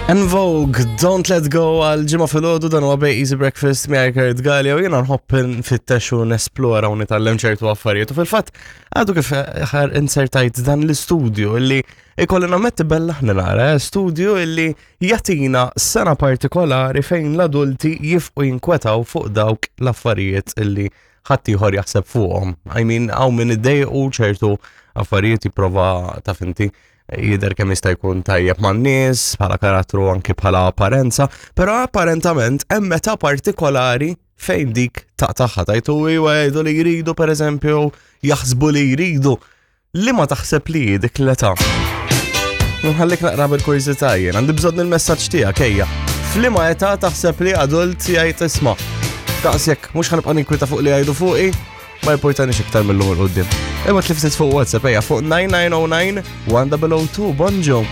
En Vogue, Don't Let Go għal ġimgħa filgħodu dan huwa Bay Easy Breakfast miegħi Kurt Gallia u jiena nħobb nfittex u nesplora u nitgħallem ċertu affarijiet. U fil-fatt għadu kif ħar insertajt dan l-istudju illi ikolli nammetti bella ħni nara, eh, studju illi jagħtina sena partikolari fejn l-adulti jifqu jinkwetaw fuq dawk l-affarijiet illi ħaddieħor jaħseb fuqhom. I mean, hawn min iddejqu ċertu affarijiet jipprova taf inti jidher kemm jista' jkun tajjeb man-nies, bħala karattru anki bħala apparenza, però apparentament hemm meta partikolari fejn dik taqtaħħa tajtu iwa jgħidu li jridu pereżempju jaħsbu li jridu li ma taħseb li dik l-età. Nħallik naqra bil-kurżità jien, għandi bżonn il-messaġġ tiegħek ejja. F'liema età taħseb li adult jgħid isma' daqshekk mhux ħanibqa' ninkwita fuq li jgħidu fuqi, ma jportanix iktar mill-lum il-qoddim. Imma tliftit fuq WhatsApp ejja fuq 9909 1002 bonġu.